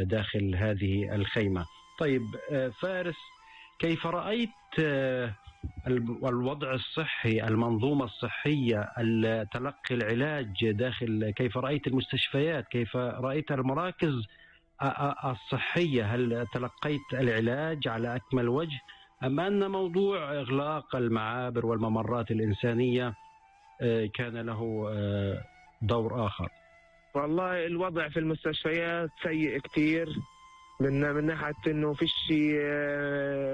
داخل هذه الخيمة. طيب فارس، كيف رأيت الوضع الصحي، المنظومة الصحية، تلقي العلاج داخل؟ كيف رأيت المستشفيات؟ كيف رأيت المراكز الصحية؟ هل تلقيت العلاج على أكمل وجه، أم أن موضوع إغلاق المعابر والممرات الإنسانية كان له دور آخر؟ والله الوضع في المستشفيات سيء كتير، من ناحية إنه فيش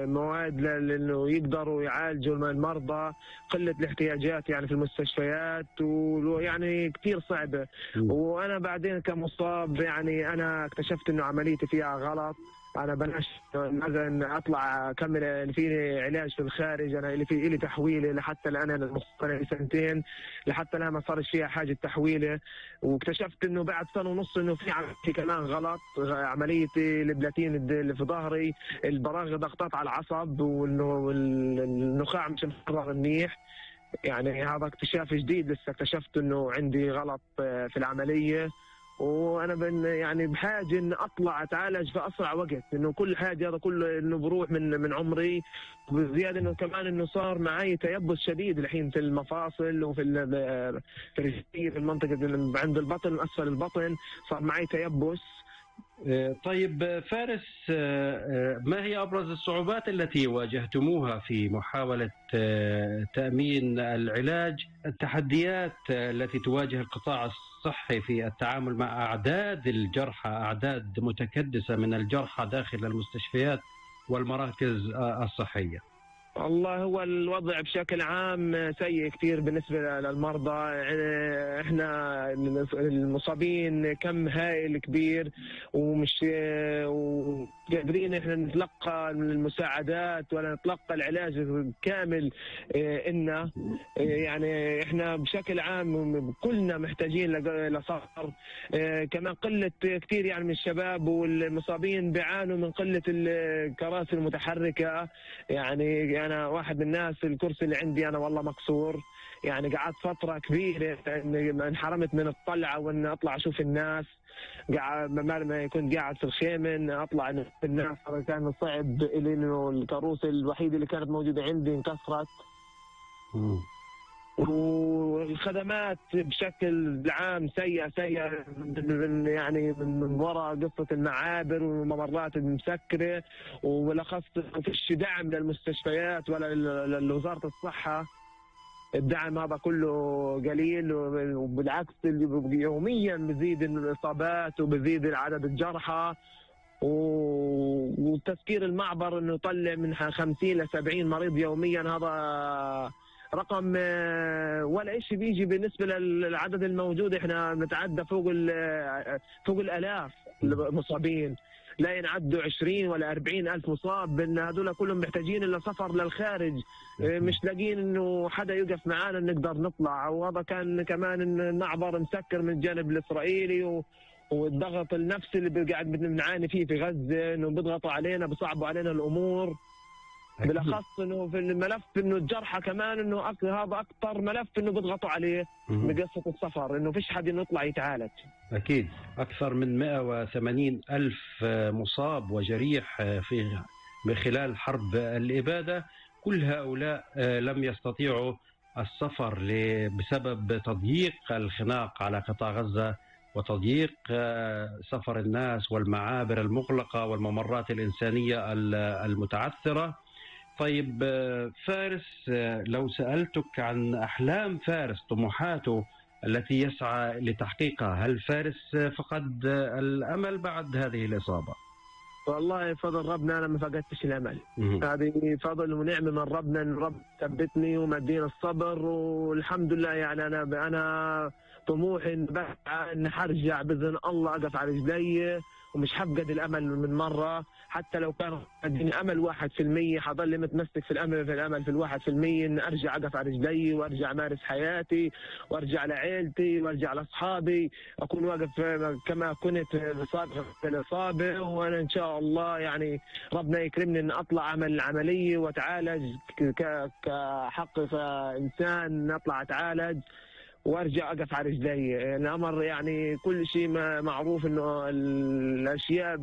مواد لإنه يقدروا يعالجوا المرضى، قلة الاحتياجات يعني في المستشفيات، ويعني كتير صعبة. وأنا بعدين كمصاب يعني أنا اكتشفت إنه عمليتي فيها غلط. أنا بلاش مثلا أطلع أكمل اللي فيني علاج في الخارج، أنا اللي تحويلة لحتى الآن، أنا المصاب سنتين لحتى الآن ما صارش فيها حاجة تحويلة. واكتشفت إنه بعد سنة ونص إنه في عملية كمان غلط، عمليتي البلاتين اللي في ظهري، البراغي ضغطات على العصب، وإنه النخاع مش مفرغ منيح. يعني هذا اكتشاف جديد، لسه اكتشفت إنه عندي غلط في العملية. وانا يعني بحاجه ان اطلع اتعالج في اسرع وقت، انه كل حاجه هذا كله انه بروح من عمري. وزياده انه كمان انه صار معي تيبس شديد الحين في المفاصل وفي الرجلين، في المنطقه عند البطن، اسفل البطن صار معي تيبس. طيب فارس، ما هي أبرز الصعوبات التي واجهتموها في محاولة تأمين العلاج؟ التحديات التي تواجه القطاع الصحي في التعامل مع أعداد الجرحى، أعداد متكدسة من الجرحى داخل المستشفيات والمراكز الصحية. والله هو الوضع بشكل عام سيء كتير بالنسبة للمرضى. احنا المصابين كم هائل كبير، ومش قادرين احنا نتلقى المساعدات ولا نتلقى العلاج كامل. يعني احنا بشكل عام كلنا محتاجين لصفر. كمان قلة كتير يعني من الشباب والمصابين بيعانوا من قلة الكراسي المتحركة. يعني أنا واحد من الناس الكرسي اللي عندي أنا والله مكسور، يعني قعدت فترة كبيرة انحرمت من الطلعة وإن أطلع أشوف الناس. قاعد ما كنت قاعد في الخيمة أطلع أشوف الناس، كان صعب لأنه الكروسي الوحيدة اللي كانت موجودة عندي انكسرت. والخدمات بشكل عام سيئة يعني من وراء قصة المعابر والممرات المسكرة، وبالأخص فيش دعم للمستشفيات ولا لوزارة الصحة. الدعم هذا كله قليل، وبالعكس يوميا بزيد الإصابات وبزيد عدد الجرحى. وتسكير المعبر انه يطلع من 50 ل 70 مريض يوميا، هذا رقم ولا إشي بيجي بالنسبة للعدد الموجود. احنا نتعدى فوق الآلاف المصابين، لا ينعدوا 20 ولا 40 ألف مصاب. بأن هذول كلهم محتاجين إلا سفر للخارج، مش لاقين إنه حدا يقف معانا نقدر نطلع. وهذا كان كمان المعبر مسكر من الجانب الإسرائيلي، والضغط النفسي اللي قاعد بنعاني فيه في غزة، إنه بيضغطوا علينا، بيصعبوا علينا الأمور. بالاخص انه في الملف انه الجرحى كمان انه هذا اكثر ملف انه بيضغطوا عليه بقصه السفر، انه فيش حد انه يطلع يتعالج. اكيد اكثر من 180 الف مصاب وجريح في خلال حرب الاباده. كل هؤلاء لم يستطيعوا السفر بسبب تضييق الخناق على قطاع غزه، وتضييق سفر الناس والمعابر المغلقه والممرات الانسانيه المتعثره. طيب فارس، لو سألتك عن أحلام فارس، طموحاته التي يسعى لتحقيقها، هل فارس فقد الأمل بعد هذه الإصابة؟ والله فضل ربنا أنا ما فقدتش الأمل. هذه فضل ونعمة من ربنا، إن رب ثبتني ومدينا الصبر، والحمد لله. يعني أنا طموحي إن حرجع بإذن الله أقف على رجلي، ومش حفقد الأمل من مرة. حتى لو كان عندي أمل 1%، حضل متمسك في الأمل في 1%، إن أرجع أقف على رجلي وأرجع أمارس حياتي وأرجع لعائلتي وأرجع لأصحابي، أكون واقف كما كنت سابقا في الإصابة. وأنا إن شاء الله يعني ربنا يكرمني إن أطلع أعمل العملية وأتعالج كحق إنسان، أطلع أتعالج وارجع اقف على رجلي. الامر يعني كل شيء معروف انه الاشياء